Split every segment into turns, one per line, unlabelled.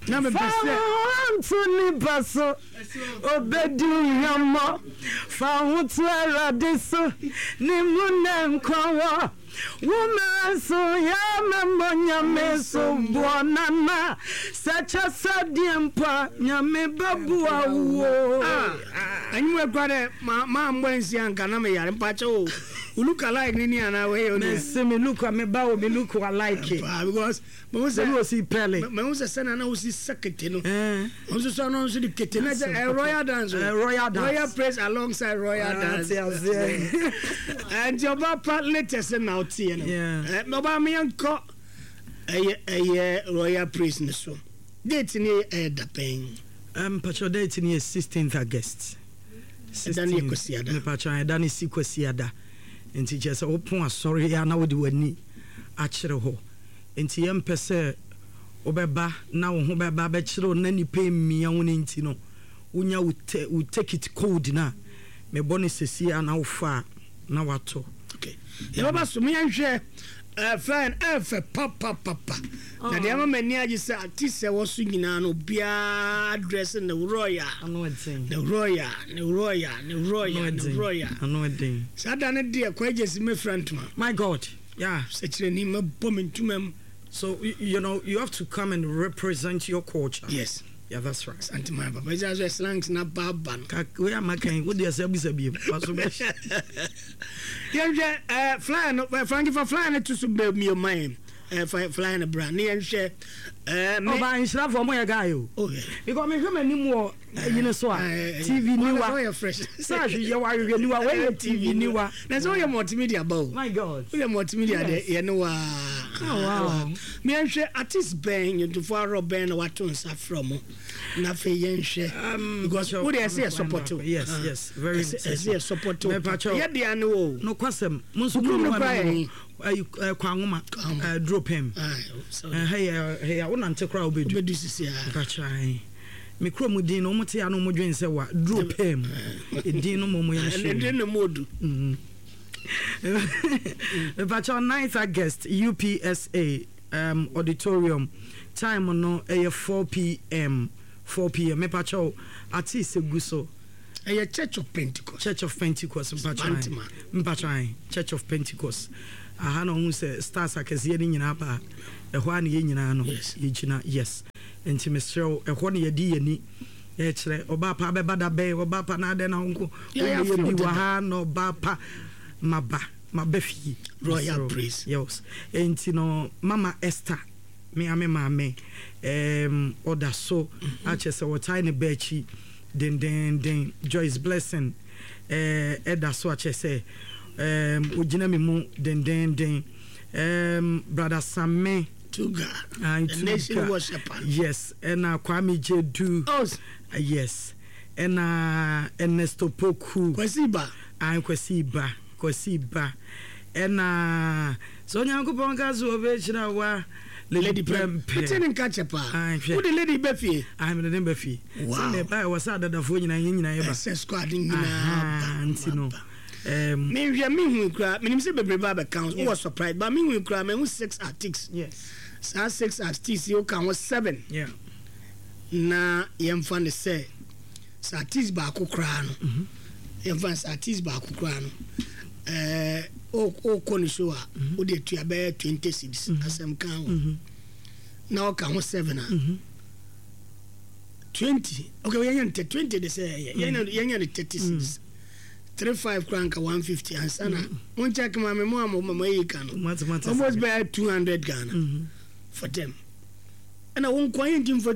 Na mepɛ
Fa
sɛ.
wo ho nto nipa so, obedi wo hwammɔ. Fa wo ho to Awurade so, ne mu na nkwa wɔ. Wo mmerɛ nso yɛ mɛmmɔ Nyame so boɔ nana sɛ kyɛ sɛ deɛ mpo a Nyame bɛboa wo.
Ah, anwummerɛ kura dɛ ma ma mbɔ nsi anka na me yare mpakyɛ o. Wo look alike ni ni anaa wei yɛ onua.
Mese me look me ba o me look alike.
Paa because Mahu sɛ
Sɛdeɛ ɔsi pɛle.
Mahu sɛ sɛnea na wosi sɛ kete no. Wɔn nso so ano nso de kete na sɛ ɛyɛ royal dance o.
Royal dance.
Royal praise alongside royal dance.
Ate aseɛ.
Nti ɔbaa pa latest na ɔteɛ no. Ɔbaa mi yɛn kɔ ɛyɛ ɛyɛ royal praise ne so. Date ne ɛyɛ dapɛn.
Mpakyɛ date ne yɛ 16th August.
Ɛda ne yɛ Kwasiada.
Mpakyɛ ɛda ne si Kwasiada. Nti kyerɛ sɛ wopon asɔre ya na wode w'ani akyerɛ hɔ. Enti yɛmpɛ sɛ wobɛba na wo ho bɛba abɛkyere wo na nnipa mmia wo no nti no, wonya wo te wo take it cold no a, mebɔ no sesie a na wofa a na watɔ.
Okay. Yɛbɛba so ma yɛnhwɛ eh, flyer no ɛfɛ papapapa. Na deɛ ama m'ani agye sɛ artist a ɛwɔ so nyinaa no obiara dress ne royal.
Ano ɛden.
Ne royal, ne royal, ne royal, ne royal.
Ano ɛden.
Saa da no deɛ Kwaa Gyasi mɛfira ntoma.
My God. Yeah.
Sɛkyerɛni mɛbɔ me ntoma mu.
So you know you have to come and represent your culture.
Yes.
Yeah, that's right.
Santima papa ɛsɛ sɛ slangs na ba ba no.
Ka wei ama kan wo deɛ sɛ bisa biem. Waso bɛ.
Yɛnhwɛ ɛɛ flyer no eh, Frankie fa flyer no to so bɛ mie ma yɛn ɛɛ fa flyer no bra ne yɛnhwɛ ɛɛ me.
Ɔba nhyirafoɔ mo yɛ guy o.
Oh yeah.
Because mehwɛ m'anim wɔ Ayi no so a, TV niwa. Sɛ ahwehwɛ wɔ ahwehwɛ niwa, wei yɛ TV niwa.
Na sɛ woyɛ multimedia ba o.
My God.
Woyɛ multimedia deɛ yɛ ne waa.
Oh wow.
Yɛnhwɛ artist bɛn, nnwontofo ahorow bɛn na wato nsa frɛ mo. Na afei yɛnhwɛ. Because wo deɛ ɛsɛ yɛ support o.
Yes, yes, very
Ɛsɛ yɛ support o. Yɛ deɛ ne wo.
Nokwasɛm, mo nso mo
mu kura yɛn.
Ayi Kwanwoma, duro pɛm. Ɛhɛ yɛ wo nante koraa wobɛdu.
Wobɛdu sisi a.
Mpakyɛ Me kurom din no, wɔn te a na wɔn dwen sɛ wa duro pɛɛ mu. Edin no mo yɛn hyɛ.
Edin no mo odu.
Mepakyɛw 9th August UPSA um, auditorium time no ɛyɛ 4pm 4pm mepakyɛw artist egu so.
Ɛyɛ Church of Pentecost.
Church of Pentecost mpakyɛw mpakyɛw Church of Pentecost aha na ɔhu sɛ stars akɛseɛ no nyinaa ba ɛhɔ a na yɛn nyinaa no yɛgyina yes. Nti mesrɛ wo, ɛhɔ na yɛde yɛn ani rekyerɛ. Ɔbaa pa bɛba da bɛn? Ɔbaa pa na adɛn na wo nko wobɛyɛ bi wɔ ha na ɔbaa pa maba maba fie.
Royal praise.
Yes. Nti no mama Esther me ame maame um, ɔda so mhm. akyɛ sɛ wɔtae ne ba akyi dendenden. Joyce Blessing eh, ɛda so akyɛ sɛ um, ogyina me mu dendenden. Um, Brother Same
Tuga, the nation worshiper.
Yes, ɛna Kwame Jedu.
Oh.
Yes, ɛna Ernesto Poku.
Kwasi Ba.
Ah, Kwasi Ba, Kwasi Ba. Ɛna sɛ Onyankopɔn ka so ɔbɛhyira wa.
Lady Prempeh. Mete ne nka kyɛ paa.
Ah, hwɛ.
Wode lady bɛ fie.
Ah, mede ne bɛ fie.
Wow.
Sɛ meba ɛwɔ sɛ adadafoɔ nyinaa yɛn nyinaa yɛba.
Ɛsɛ squad nyinaa ba.
Nti no.
Menhwɛ mehui koraa menim sɛ bebree ba bɛka ho wowɔ surprise ba mehui koraa mahu six artists
yes.
Saa six artists yi woka ho seven
yeah.
Na yɛmfa no sɛ sɛ artist baako koraa no mm -hmm. yɛmfa no sɛ artist baako koraa no ɛɛ wokɔ ne show a mm -hmm. wode atua bɛyɛ 20 cedis mm -hmm. asɛm ka ho mm -hmm. na ɔka ho seven a mm -hmm. 20 okay yɛnyɛ no 20 de sɛ yɛnyɛ yɛnyɛ no 30 cedis mm -hmm. 35 koraa nka 150 ansa na mo check ma me mo a mo mo ayi ka no almost bɛyɛ 200 Ghana mm-hmm. for them ɛna wo nkoa yɛ nti mfa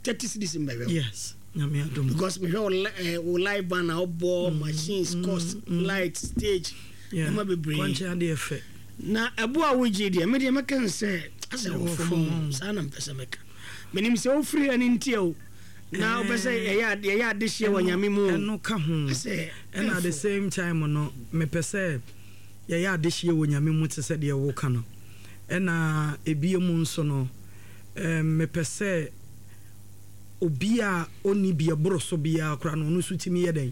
30 cedis mbɛhwɛ
yes nyame adom
because mehwɛ wo eh, wo live band a wobɔ mm-hmm. machines mm-hmm. cost mm-hmm. light stage ɛma bebree
kwankyɛn adeɛ fɛ
na ɛbo a wogye deɛ me deɛ mɛka no sɛ asɛ wɔ fam saa na mpɛ sɛ mɛka menim sɛ wofiri ɛne ntia o na wopɛ sɛ yɛyɛ yɛyɛ adehyeɛ wɔ Nyame mu o.
Ɛno ka ho. Ɛna at the same time no, mepɛ sɛ yɛyɛ adehyeɛ wɔ Nyame mu te sɛ deɛ woka no. Ɛna ebie mu nso no, mepɛ sɛ obi a ɔnni bi ɛboro so biara koraa no, ɔno nso tumi yɛ dɛn?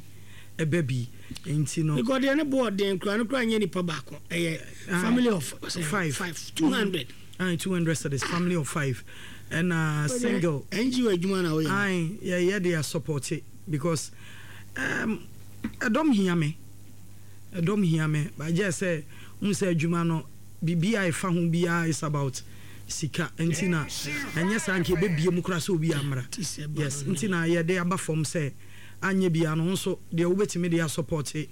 Ɛba bi. Nti no.
Because deɛ ne bo ɔden koraa no koraa nyɛ nipa baako, ɛyɛ family of five, 200.
Aye, 200 cedis, family of five. Ɛna single.
NGO adwuma na woyɛ no?
Aye, yɛyɛ de asupporte because um, ɛdɔm hia me. Ɛdɔm hia me. But gyɛ sɛ, wohu sɛ adwuma no, biribi a ɛfa ho biara is about sika. Nti na, ɛnyɛ saa nka yɛbɛbie mu koraa sɛ obi ammra. Yes, nti na yɛde aba fam sɛ, anyɛ biara no, wo nso deɛ wobɛtumi de asupporte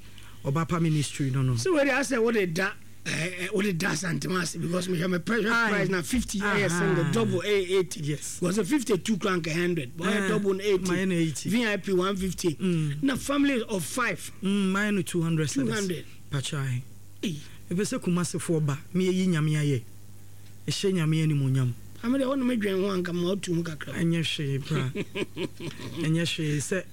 Ɔbapa Ministry no no.
Sɛ wei deɛ asɛ wode da eh, wode da Asantema ase because mehwɛ me price price na 50 ɛyɛ single, double ɛyɛ 80.
Yes.
Because 52 kora nka 100, but ɔyɛ double no 80.
Mayɛ no 80.
VIP 150. Na family of 5.
Mayɛ no 200 cedis.
200.
Pakyɛ ahe. Mepɛ sɛ Kumasefoɔ ba, me yɛyi Nyame ayɛ. Ɛhyɛ Nyame animuonyam.
Ame deɛ wo ne me dwen ho a nka ma wotu mu kakra.
Ɛnyɛ hwee bra. Ɛnyɛ hwee sɛ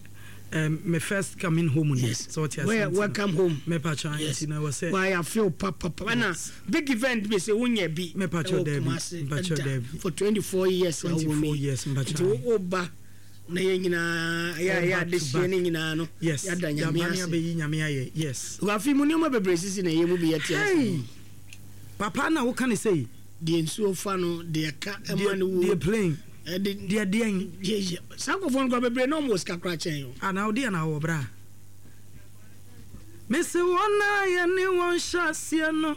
um, me first coming home ni.
Yes.
Sɛ ɔte aseɛ nti no.
Welcome home.
Mepa kyɛw
Yes.
nti na ɛwɔ sɛ.
Why I feel papapa. Ɛna big event bi sɛ wonyɛ bi.
Mepa kyɛw
Ɛwɔ
daabi.
Kumasi
Mepa kyɛw
ɛda
daabi.
for 24 years a wɔ
24
mu yi.
years mepa
Nti
kyɛw.
wo ba na yɛn nyinaa yɛ
All
yɛ
back to
adehyeɛ
back.
ne nyinaa no.
Yes.
Yɛada Nyame
Yɛaba ne
ase.
abɛyi Nyame ayɛ. Yes.
Afi mu nneɛma bebree sisi na ɛyɛ mu bi yɛte ase.
Hey! Papa na woka ne sei.
Deɛ nsuo fa no, deɛ ka ɛma no wuo.
Deɛ plane.
Ɛde.
Deɛ deɛn.
Yɛ saa nkurɔfoɔ no koraa bebree na wɔn wɔ sika koraa kyɛn o.
Ah na wo deɛ na wɔ bra. Mese wɔn a yɛne wɔn hyɛ aseɛ no,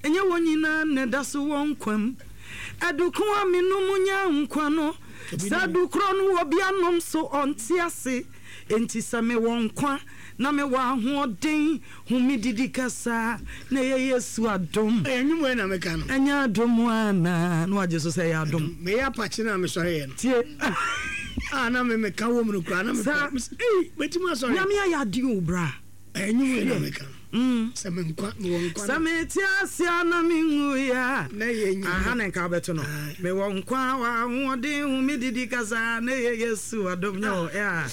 ɛnyɛ wɔn nyinaa na ɛda so wɔ nkwa mu. Aduko a menom nya nkwa no, saa adu korɔ no obi anom so ɔnte ase. Enti sɛ mewɔ nkwa na mewɔ ahoɔden, hu me didi kasa, na ɛyɛ Yesu adom.
Ɛyɛ nnwom wei na meka no.
Ɛnyɛ adom anaa? Na wagye so sɛ ɛyɛ adom.
Meyɛ apakye no a mesɔreeɛ no.
Tie.
A na me meka wɔ mu no koraa na mepɛ.
Saa.
Ei, mɛtumi asɔre.
Nyame ayɛ adeɛ o bra.
Ɛyɛ nnwom wei na meka no. Sɛ me nkwa, mewɔ nkwa
Sɛ mete ase a na menwui a.
Na ɛyɛ Nyame.
Aha na nka wobɛto no. Mewɔ nkwa, wɔ ahoɔden, hu me didi kasa, na ɛyɛ Yesu adom nyɛ wɔ yeah.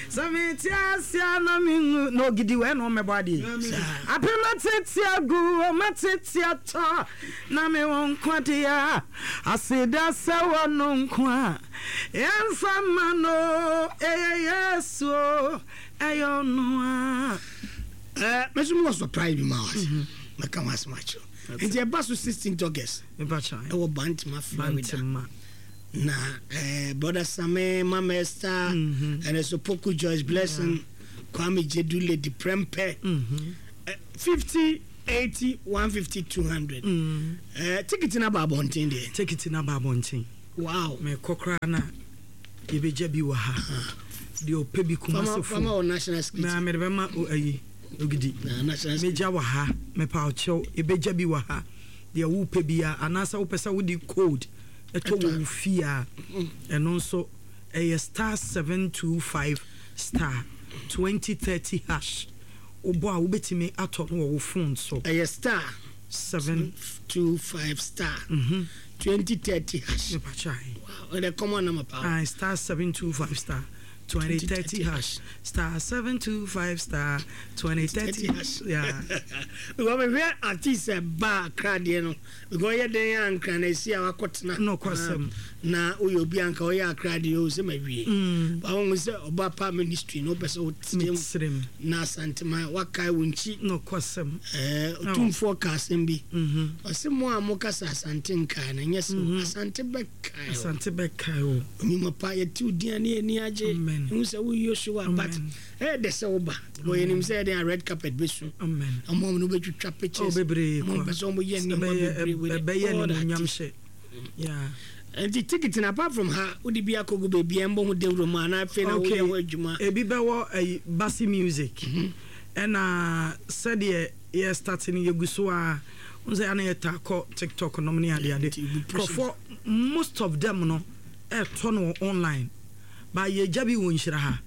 Sɛ mete ase a na menwu. Na ogidi wɔ ɛna ɔmmɛbɔ adeɛ yi. Apem atete agu, ɔmatete atɔ, na mewɔ nkwa deɛ a, aseda sɛ wɔ no nko a, yɛmfa mma no, ɛyɛ Yesu o, ɛyɛ ɔno a.
Eh, me nso mewɔ surprise bi ma wo ase. Mɛka ho asɛm akyerɛ wo. Nti ɛba so 16th August. Ɛwɔ Bantama, Florida.
Bantama.
Na eh, brother Same, Mama Esther, mm -hmm. and so Poku Joyce Blessing, yeah. Kwame Jedu, Lady Prempeh. Mm -hmm. eh, 50, 80, 150, 200. Mm. Eh, ticket na ba abɔnten deɛ.
Ticket na ba abɔnten.
Wow.
Mekɔ koraa na. Yɛbɛgya bi wɔ ha. Deɛ ɔpɛ bi Kumasi fo.
Fama wɔ national security.
Mɛ mede bɛma o ayi ogidi. Mɛgya wɔ ha. Mɛpa ɔkyɛw. Yɛbɛgya bi wɔ ha. Deɛ wopɛ bi a anaasɛ wopɛ sɛ wode code ɛtɔ wɔ wo fie a ɛno nso ɛyɛ star 725 star 2030 hash. Wobɔ a wobɛtumi atɔ no wɔ wo phone so.
Ɛyɛ star 725 star 2030 hash.
Mepakyɛ ahe.
Wow, ɛdɛ common number paa.
Aye, star 725 star 2030 hash. Star 725 star 2030
hash.
Yeah.
Because mehwɛ artist ɛba Accra deɛ no, because ɔyɛ dɛn a Nkran na esi a wakɔtena.
No kwasɛm.
Na woyɛ obi a nka ɔyɛ Accra deɛ o sɛ mawie. Ba wohu sɛ ɔba pa ministry no wopɛ sɛ wotirem na Asantema wakae wo nkyi.
No kwasɛm.
Ɛɛ otumfoɔ ka asɛm bi. Ɔse mo a moka sɛ Asante nkae no ɛnyɛ sɛ Asante bɛkae o.
Asante bɛkae o.
Onyuma pa yɛte wo din a ne yɛn ani agye.
Amen.
Ehu sɛ woyɛ Yosua but ɛyɛ dɛ sɛ woba. Because yɛnim sɛ ɛdɛn a red carpet bɛsu.
Amen.
Ɔmo a ɔmo bɛtwitwa pictures.
Oh bebree
kwa. Ɔmo pɛ sɛ ɔmo yɛ nneɛma bebree with
ɛbɛyɛ
all the
animuonyam
artists.
hyɛ. Yeah.
Nti ticket no apart from ha wode bi akɔgu baabi a ɛmbɔ ho dawuro mu anaa afei na
Okay.
woyɛ ho adwuma?
Ebi bɛwɔ ɛyi Basi Music. Ɛna sɛdeɛ yɛ start no yɛgu so a wohu sɛ ana yɛtaa kɔ TikTok nom ne adeade.
Nti you push it.
Nkurɔfoɔ most of them no ɛɛtɔ no wɔ online. But yɛgya bi wɔ nhyira ha.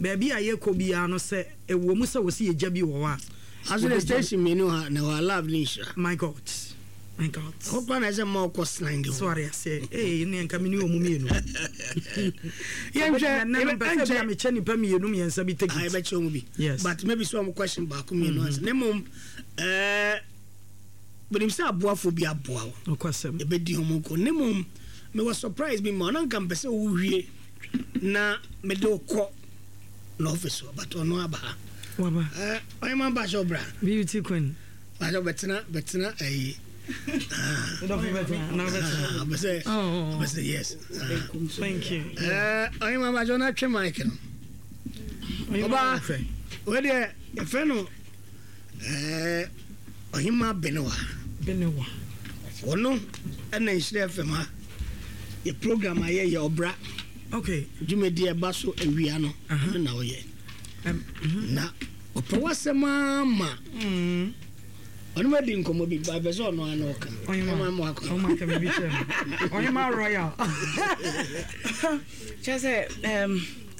Baabi a yɛkɔ biara no sɛ ɛwɔ mu sɛ wɔsi yɛgya bi wɔ hɔ a.
Aso de station mmienu ha na ɛwɔ Love ne Nhyira.
My God. My God.
Ɛhɔ koraa na ɛsɛ mma ɔkɔ slang hɔ.
So are aseɛ. Ee ne nka me ne wɔn mmienu.
Yɛnhwɛ
ɛnɛ no mpɛ sɛ bia mekyɛ nipa mmienu mmiɛnsa bi take
it. Yɛbɛkyɛ wɔn bi.
Yes.
But maybe sɛ wɔn question baako mmienu ansa. Ne mmom ɛɛ menim sɛ aboafo bi aboa wo.
Nokwasɛm.
Yɛbɛdi wɔn nkɔ. Ne mmom mewɔ surprise bi ma wo na nka mpɛ sɛ wowie na mede wo kɔ n'office hɔ but ɔno aba ha.
Waba.
Ɛɛ ɔyɛ ma ba hyɛ ɔbra.
Beauty queen.
Bɛtena bɛtena ɛyi. Ɔpɛ sɛ, ɔpɛ sɛ yes.
Thank you.
Ɔhema Bajo na twe mic no. Ɔba, wei deɛ yɛfrɛ no Ɔhema Benewa.
Benewa.
Ɔno ɛna Nhyira FM ha. Yɛ program a yɛyɛ ɔbra.
Okay.
Dwumadi ɛba so awia no, ɛno na ɔyɛ. Na ɔpɛ w'asɛm ara ma. Ɔne ma di nkɔmmɔ bi ba pɛ sɛ ɔno ano ɔka. Ɔhema mo akɔ.
Ɔhema ka biribi kyerɛ me. Ɔhema royal.
Kyerɛ sɛ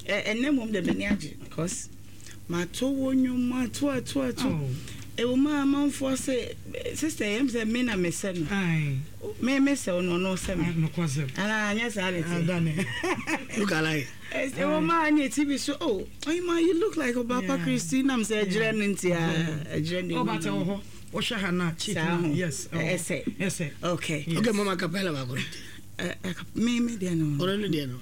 ɛnnɛ mmom de m'ani agye because mato wo nnwom ato ato ato. Ɛwɔ mu a amanfoɔ se sister yɛm sɛ me na mesɛ no. Me mesɛ wo no ɔno sɛ me. Anaa anyɛ saa ne
te. Look alike.
Ɛwɔ mu a ne TV so oh Ɔhema you look like Ɔbaapa Christy nam sɛ ɛgyerɛ no nti a ɛgyerɛ ne
mu. Ɔbata wɔ hɔ wɔhwɛ ha na chick na yes
ɛsɛ
ɛsɛ
okay.
Yes. Okay mama capella baako.
Me me deɛ no.
Ɔno ne deɛ no.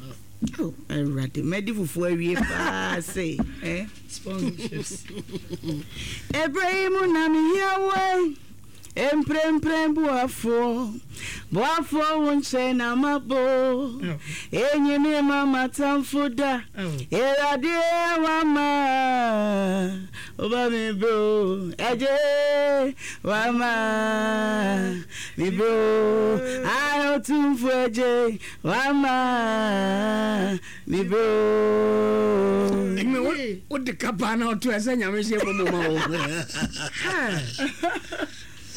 Oh Awurade mɛdi fufuo awie paa se eh.
Sponsorships.
Ɛberɛ yi mu na mehia wo eh. Mprempren boafoɔ, boafoɔ wo nkyɛn na mabɔ Enyi me ma m'atamfo da Awurade wama Woba me bro ɛgye wama me bro Ayɛ otumfo ɛgye wama Me bro.
Ɛnyɛ wo wo de ka paa na ɔto ɛsɛ nyame hyɛ mu ma wo.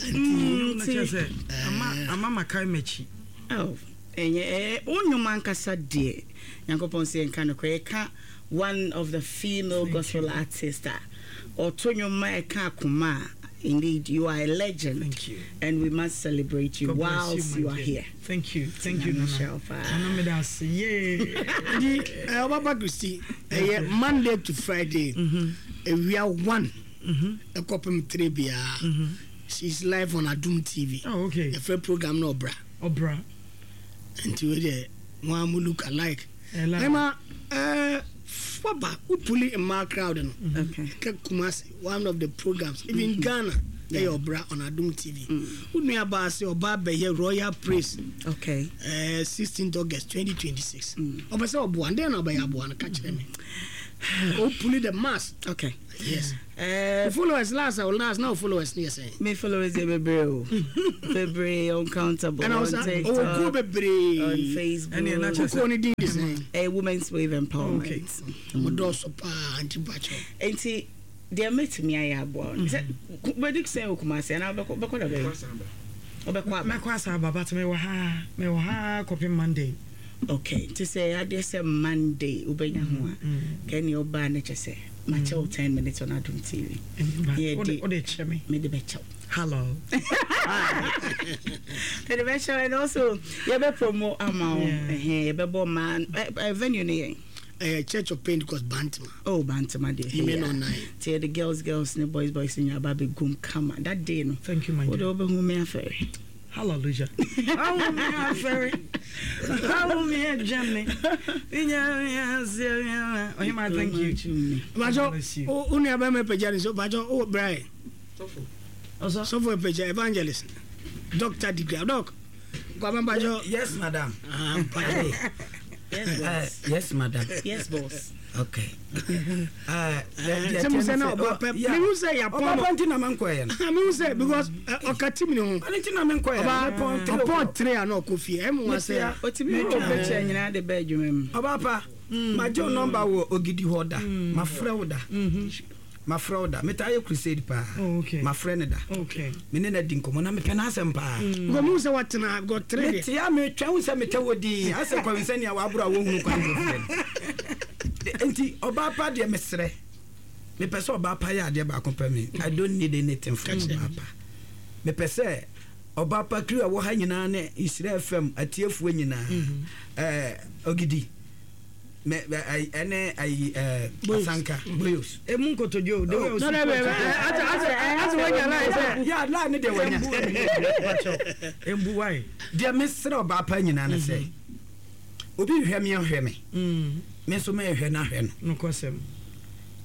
Nti sɛ ama ama makae m'akyi.
Oh, ɛnyɛ ɛɛ wo nnwom ankasa deɛ Nyankopɔn sɛ yɛnka nokorɛ yɛka one of the female gospel artist a ɔto nnwom ma ɛka akoma a indeed you are a legend.
Thank you.
And we must celebrate you
God bless
whilst
you,
you
my
are
dear.
here.
Thank you, thank you, Nana. Nana meda ase. Yay.
Nti ɔbaba Christy ɛyɛ Monday to Friday awia 1 ɛkɔpem 3 biara. She is live on Adum TV.
Oh, okay.
Yɛfrɛ program no Ɔbra.
Ɔbra.
Nti wei deɛ mo a mo look alike.
Ɛla.
Ɛma waba wopuli mmaa crowd no.
Okay.
Kɛ Kumasi one of the programs even Ghana ɛyɛ Ɔbra on Adum TV. Wo nua baa sɛ ɔba abɛyɛ Royal Praise.
Okay.
16th August 2026. Ɔpɛ sɛ ɔboa ndɛn na ɔbɛyɛ aboa no ka kyerɛ me. Wopuli the mass.
Okay.
Yes. Wo followers last a last na wo followers no yɛ sɛn?
Me followers yɛ bebree o. Bebree uncountable
Ɛna
on
ɔsa ɔwɔ
TikTok,
kuo bebree.
on Facebook.
Ɛne ɛna kyerɛ
Kuo no din de sɛn?
Ɛyɛ Women's Wave Empowerment.
Okay.
Mo dɔɔso paa nti mpakyɛw.
Nti deɛ mɛtumi ayɛ aboa wo no sɛ wobɛdi sɛn wɔ Kumasi anaa wobɛkɔ wobɛkɔ da bɛn? Wobɛkɔ aba.
Mɛkɔ asa aba but mewɔ ha mewɔ ha kɔpem Monday.
Okay nti sɛ ɛyɛ adeɛ sɛ Monday wobɛnya ho a kɛneɛ wobaa no kyɛ sɛ makyɛ wo 10 minutes on Adom TV.
Wode wode kyɛ me.
Mede bɛkyɛ wo.
Hello.
Mede bɛkyɛ wo and also yɛbɛ promo ama wo. Ɛhɛn yɛbɛbɔ ma venue no yɛn.
Ɛyɛ Church of Pentecost Bantama.
Oh Bantama deɛ.
Ime no nine.
Nti yɛde girls girls ne boys boys nyinaa ba abɛgum kama that day no.
Thank you my dear.
Wode wobɛhu me afɛre.
Hallelujah. Awo me afɛre. Awo me adwene. Ɔhema thank you.
Bajo o nua bɛma apagya ne so bajo o brae. Sɔfo apagya evangelist. Doctor degree doc. Kwame bajo.
Yes madam.
Ah, bajo.
Yes boss.
Yes madam.
Yes boss.
Okay.
Sɛ mo sɛ na ɔba pɛ mehu sɛ yɛapɔn
no ɔba nti na menkɔɛ no
mehu sɛ because ɔka tim ne ho
ɔno nti na menkɔɛ
no ɔpɔn tere a na ɔkɔ fie ɛmu wa sɛ
ɔtumi wɔ picture nyinaa de bɛ adwuma mu
ɔba pa magye wo nɔmba wɔ ogidi hɔ da mafrɛ wo da mafrɛ wo da metaa yɛ crusade paa
oh, okay.
mafrɛ no da
okay.
me ne no adi nkɔmmɔ na mepɛ n'asɛm paa
mm. mu sɛ watena got tere deɛ
metea metwɛn wo sɛ metɛ wɔ din asɛ kɔwensɛnea waboro a wɔhunu kwan kɔfie no nti ɔbaa pa deɛ mesrɛ mepɛ sɛ ɔbaa pa yɛ adeɛ baako pɛ me I don't need anything from ɔbaa pa mepɛ sɛ ɔbaa pa kiri a wɔ ha nyinaa ne Nhyira FM atiefoɔ nyinaa mm-hmm. eh, ogidi ɛne ayi ɛɛ asanka boyos.
Emu nkotodwe o de wei osi
kɔ ati ati ati wanya line sɛ.
Ya line ne deɛ wanya.
Embu wae.
Deɛ mesrɛ ɔbaa pa nyinaa ne sɛ obi nhwɛ me nhwɛ me me nso mɛhwɛ no ahwɛ
no. Nokwasɛm.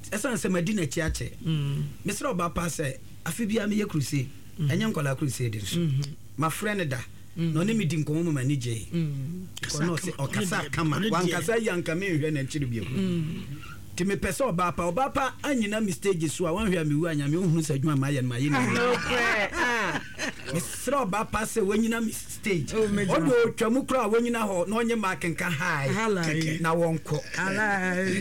Ɛsiane sɛ madi n'akyi akyɛ. Mesrɛ ɔbaa pa sɛ afe biara meyɛ crusade ɛnyɛ nkwadaa crusade nso. Mafrɛ no da na ɔne me di nkɔmmɔ ma m'ani gyee. Because na ɔse ɔkasa kama. Wankasa yie a nka menhwɛ n'akyiri bio. Nti mepɛ sɛ ɔbaa pa. Ɔbaa pa anyina me stage so a wanhwɛ a mewu a Nyame ɔnhunu sɛ adwuma a mayɛ no mayɛ no yie. Mesrɛ ɔbaa pa sɛ wanyina me stage. Ɔde ɔtwa mu koraa a wanyina hɔ na ɔnye Mark nka hi na wɔnkɔ.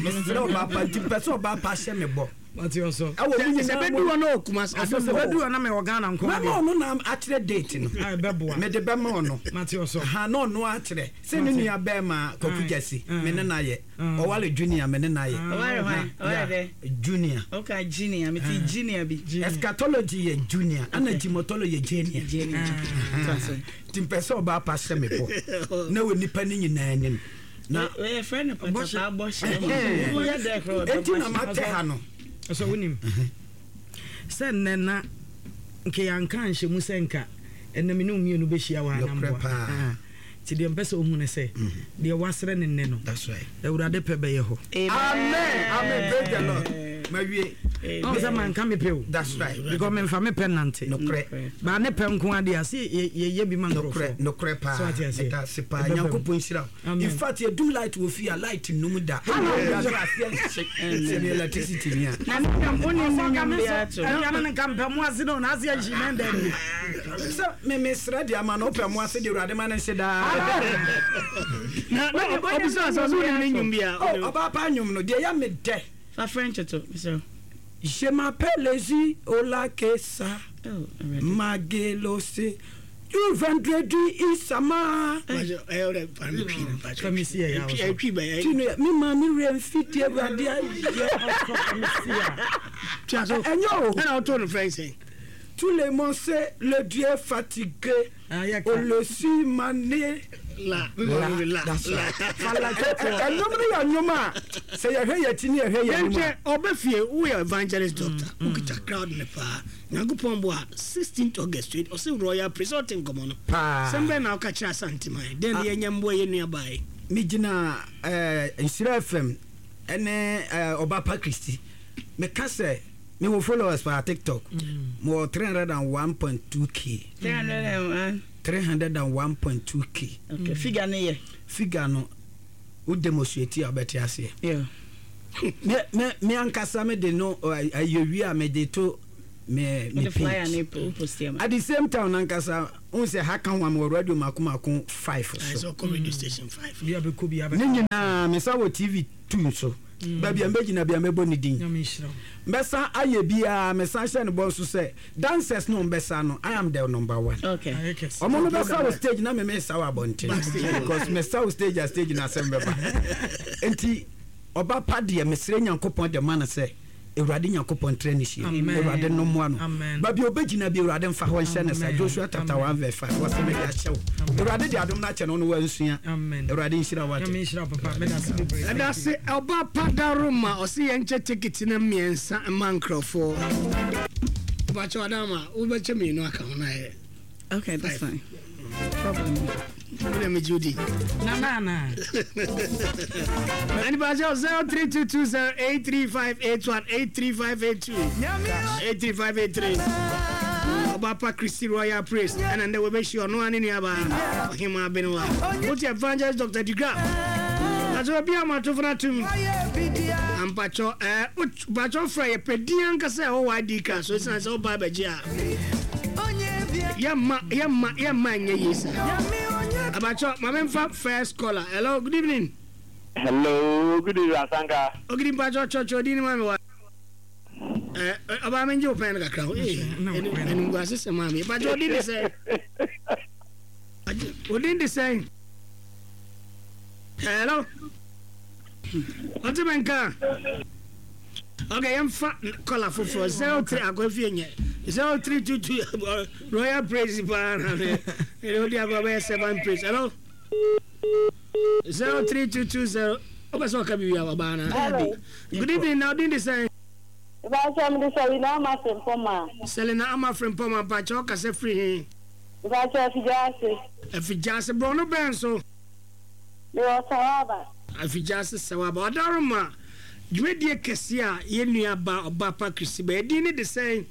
Mesrɛ ɔbaa pa nti mepɛ sɛ ɔbaa pa hyɛ me bɔ.
Mate ɔsɔ.
Ɛwɔ mu nyinaa
mu. Sɛ bɛdu hɔ na ɔwɔ Kumasi. Ɔsɔ sɛ bɛdu hɔ na mewɔ Ghana nko
adeɛ. Mɛma ɔno na akyerɛ date no.
A ɛbɛboa.
Mede bɛma ɔno.
Mate ɔsɔ.
Ha na ɔno akyerɛ. Sɛ ne nua bɛɛma Kwaku Gyasi me ne no ayɛ. Ɔware Junior me ne no ayɛ.
Ɔware hwan? Ɔware dɛ?
Junior.
Okay, Junior. Mete Junior bi.
Eschatology yɛ Junior ɛna Timotology yɛ Junior.
Junior.
Nti mpɛ sɛ ɔbaa pa hyɛ me bɔ na wɔ nipa no nyinaa anim.
Na wɔyɛfrɛ no patapaa bɔhyɛ. Woyɛ dɛ korɔ
ɔdɔ Enti na matɛ ha no.
Sɛ wonim sɛ nnɛ na nka yɛanka anhyɛ mu sɛ nka ɛnnɛ me ne wo mmienu bɛhyia wɔ ha na mboa. Nti deɛ mpɛ sɛ wohu ne sɛ deɛ woasrɛ no nnɛ no Awurade pɛ bɛyɛ hɔ.
Amen amen praise the Lord mawie.
Ɔn sɛ manka me pɛ o.
That's right.
Because memfa me pɛ nante.
Nokorɛ.
Baa ne pɛ nko adeɛ a se yɛyɛ bi ma nkurɔfoɔ.
Nokorɛ nokorɛ paa.
So ate aseɛ.
Meda ase paa. Nyankopɔn nhyira wo. In fact yɛdum light wɔ fie a light nnum da. Wiase aseɛ nhye sɛ ne electricity ni a.
Na ne nnwom wo ne ne nnwom biara to.
Awia no nka mpɛ mo ase no na aseɛ nhye na ɛnda nie.
Sɛ me mesrɛ de ama no wopɛ mo ase de Awurade ma no nhye daa.
Na na ɔbisa sɛ ɔsɛ wonim ne nnwom biara.
Oh ɔbaa pa nnwom no deɛ ɛyɛ me dɛ.
Fa French to mesrɛ wo.
Je m'appelle Ezi Olakesa Magelose Du vendredi Isama. Me maame werɛ mfi deɛ Awurade ayɛ. Ɛnyɛ o.
Ɛna ɔtoo no frɛ sɛn?
Tous les monse le Dieu fatigué Olosi mane
la la
that's right. Ɛnwom no yɛ nnwom a sɛ yɛhwɛ yɛn akyi ne yɛhwɛ yɛn anim a.
Yɛnhwɛ ɔbɛ fie woyɛ evangelist doctor wokita crowd no paa. Nyankopɔn boa a, sixteenth August wei ɔse Royal Praise ɔte nkɔmɔ no.
Paa.
Sɛm bɛn na woka kyerɛ Asanteman? Dɛn ne yɛnyɛ mmoa yɛn nua baa yi?
Me gyina eh, Nhyira FM ɛne eh, Ɔbapa Christy. Me ka sɛ me wɔ followers paa TikTok. Me wɔ 301.2k.
301?
301.2k.
Okay, figure no yɛ?
Figure no, wo demonstrate a wobɛte aseɛ.
Yeah.
Me, me, me ankasa me de no ayɛ wie a me de to me me page. At the same time nankasa n sɛ ha ka ho a mewɔ radio mako mako five so.
Ne
nyinaa mesa wɔ TV two nso. Mm. Baabi a mbɛgyina bia mɛbɔ ne din. Mbɛsa ayɛ biara mesan hyɛ ne bɔ nso sɛ dancers no mbɛsa no I am the number one. Ɔmo no bɛsa wɔ stage na me mesa wɔ abɔnten because mesa wɔ stage a stage na asɛm bɛba. Nti ɔba pa deɛ mesrɛ Nyankopɔn de ma no sɛ Awurade Nyankopɔn ntra ne sie. Awurade no mmoa no. Baabi a ɔbɛgyina bi Awurade mfa hɔ nhyɛ ne sa. Joshua chapter 1 verse 5. Wɔse mede akyɛ wo. Awurade de adom no akyɛ no no wansua. Awurade nhyira wo ate.
Ɛdase ɔba pa daroma ɔse yɛnkyɛ ticket no mmiɛnsa mma nkurɔfoɔ. Mpakyɛ Adama wobɛkyɛ mmienu aka ho na ayɛ.
Okay, that's fine. Problem.
Wona me Judy.
Na na na.
And Bajo 03220 83581 83582 83583. Obapa Christy Royal Praise. And then we be sure no ani nuaba Ohima Benua. What evangelist Dr. Digra. That's what be ama to fana tum. Ampacho eh Mpacho frɛ yɛ pɛ din ankasa ɛwɔ ID card so ɛsiane sɛ woba abɛgye a yɛmma yɛmma yɛmma ɛnyɛ yie saa. Abacho ma memfa first caller. Hello, good evening.
Hello, good evening Asanka.
Ogidi mpacho kyerɛkyerɛ odin no ma me wa. Eh, ɔbaa me ngye wo pɛn no kakra ho. Eh, animguase sɛ maa me. Mpacho odin de sɛn? Odin de sɛn? Hello. Ɔte me nka. Ok, yɛmfa kɔla foforɔ 03 akɔfie nyɛ 0322 Royal Praise paa na me ɛde wodi agorɔ bɛyɛ Servant Praise. Hello 03220 wopɛ sɛ ɔka biribi a wabaa na. Good evening na ɔdin de sɛn?
Mpakyɛ mede Selina Ama Frimpong.
Selina Ama Frimpong mpakyɛ ɔkasa firi he?
Mpakyɛ Afigya ase.
Afigya ase borɔno bɛn so?
Mewɔ Sawaba.
Afigya-ase Sawaba. Ɔdaroma dwumadie kɛseɛ a yɛn nua ba Ɔbaapa Christy bɛyɛ din no de sɛn?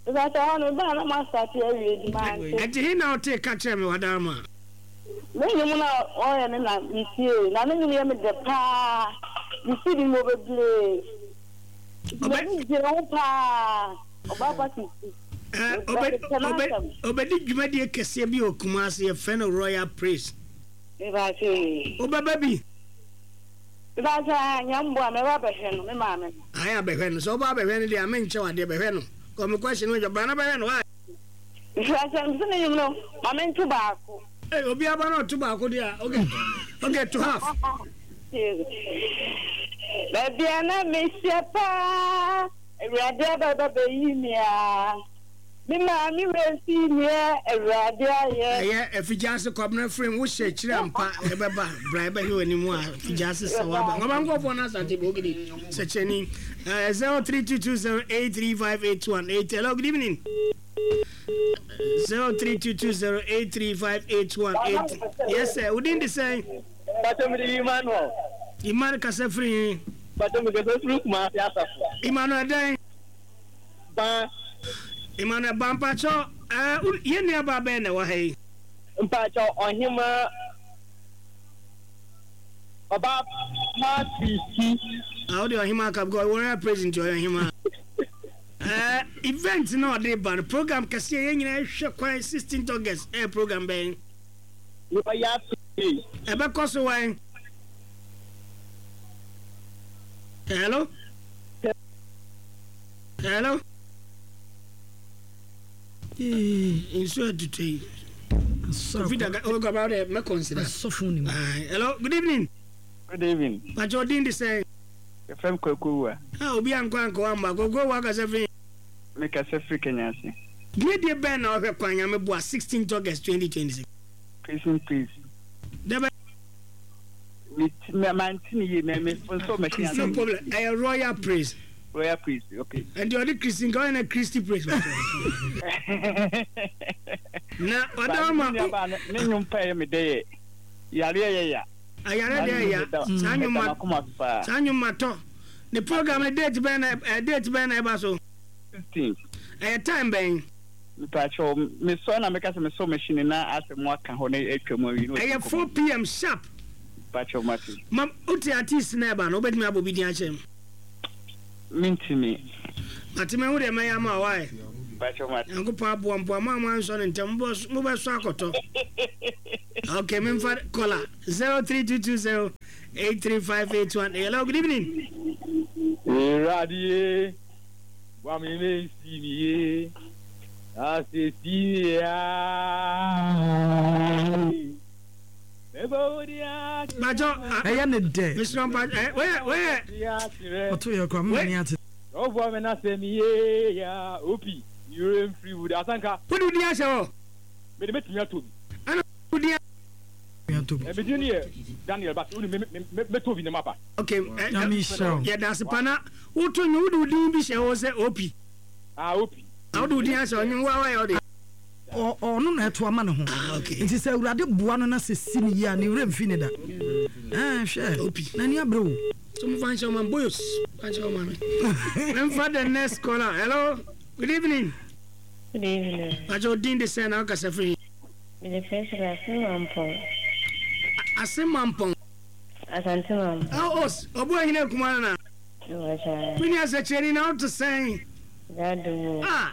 Mepakyɛ hɔ no mebaa na moastate awie nti mante.
Ɛnti he na wotee ka kyerɛɛ me w'adaroma?
Ne nnwom no a ɔyɛ no na metiee na ne nnwom yɛ me dɛ paa. Me CD no mewɔ bebree. Nti m'ani gyee ho paa. Ɔbaa pa Sisi. Mepɛ n'asɛm.
Ɔbɛdi dwumadie kɛseɛ bi wɔ Kumasi yɛfrɛ no Royal Praise.
Mepakyɛ ee.
Wobɛba bi?
Mepakyɛ aa Nyame boa mɛba abɛhwɛ no me maame no.
Ae abɛhwɛ no sɛ woba abɛhwɛ no deɛ a menkyɛ wo adeɛ bɛhwɛ no kɔ me question no bra na bɛhwɛ no why.
Mepakyɛ mese ne nwom no ma me nto baako.
Ei obi aba na ɔto baako deɛ a okay okay to half.
Baabi a na mehyɛ paa Awurade aba ba bɛyi me aa. Me maame werɛ fii neɛ Awurade ayɛ.
Ɛyɛ Afigyaase Kwabena Frame wo hyɛ akyiri ampa ɛbɛba bra ɛbɛhwɛ w'anim a Afigyaase sɛ waba Nwaba nkurɔfoɔ no Asante Bogidi Sɛkyerɛni 0322083581 hello good evening 0322083581 yes sir wodin de sɛn?
Pacho mede Emmanuel.
Emmanuel kasa firi he?
Pacho mekasa firi Kumasi Asafo.
Emmanuel dɛn?
Ban.
Emmanuel Ban mpakyɛw ɛɛ wo yɛn nua baa bɛn na ɛwɔ ha yi?
Mpakyɛw ɔhemaa ɔbaa pa Christy.
Ah wo deɛ ɔhemaa ka because royal praise nti ɔyɛ ɔhemaa. Ɛɛ event na ɔde ba no program kɛseɛ yɛn nyinaa ɛhwɛ kwan 16th August ɛyɛ program bɛn?
Royal praise.
Ɛbɛkɔ so wɛn? Hello? Hello. Nsuo atutu yi. Kofi daga o gaba de mɛ consider.
Asɔfo ni mu.
Hello, good evening.
Good evening.
Pacho odin de sɛn?
Yɛfrɛ me Kwaku Awuah.
Ah, obi ankɔ ankɔ wamba. Kwaku Awuah kasa firi.
Me kasa firi Kenya ase.
Dwumadie bɛn na ɔhwɛ kwan Nyame boa 16th August 2026?
Peace in peace.
Dɛbɛ.
Me ti me mante ne yie me me nso machine ase.
No problem ɛyɛ royal praise.
Royal praise okay.
Ɛnti ɔde Christy nka ɔyɛ na Christy praise. Na ɔda ma.
Ne nnwom pa yɛ me dɛ yɛ yareɛ yɛ ya.
Ayare deɛ ya saa nnwom ma saa nnwom ma tɔ ne program ne date bɛn na ɛ date bɛn na ɛba so.
16.
Ɛyɛ time bɛn.
Mepakyɛw, mesɔre na meka sɛ mesɔ machine na asɛ mo aka hɔ na atwa mu awie na
Ɛyɛ 4 pm sharp.
Mepakyɛw mate.
Ma wote artist na ɛba no wobɛtumi abɔ bi din akyerɛ me?
Mentumi.
Mate mahu deɛ mɛyɛ ama wo why?
Mepakyɛw mate.
Nyankopɔn aboa mpo a mo a moansɔ no ntɛm mobɛsɔ akɔtɔ. Ok memfa caller 03220 83581 Hello good evening.
Awurade Boa me me nsi me yie na sɛ si me a mɛbɔ wo din akyerɛ.
Bàjọ́
ɛyɛ ne dɛ.
Mesrɛ mpa ɛ weyɛ weyɛ.
Ɔto yɛ kora mma ni ate.
Ɔboa me na sɛ me yie ya opi yere mfiri wo de asanka.
Wode wo din ahyɛ hɔ.
Mede mɛtumi atɔ bi.
Ɛna wo din.
Atɔ bi.
Me din yɛ Daniel but wone me me mɛtɔ bi na maba.
Ok yɛda ase pa na woto nnwom wode wo din bi hyɛ hɔ sɛ OP.
Ah OP.
Na wode wo din ahyɛ hɔ nnwom wa wayɛ wo deɛ.
Ɔno na ɛto ama ne ho.
Ah ok.
Nti sɛ Awurade boa no na sɛ si no yie a ne werɛ mfi ne da. Ɛɛ hwɛ
OP.
N'ani abere o.
So mo fa nhyɛ ɔma boyos fa nhyɛ ɔma me. Memfa the next caller. Hello good evening.
Good evening.
Pakyɛ wo din de sɛn na wokasa firi he?
Mede Priscilla Asemampong.
Asemampong.
Asante mam.
Oh os, ɔbo ahene akuma no na.
Mepakyɛ.
Me nua sɛkyerɛni na wote sɛn?
N'adom o.
Ah,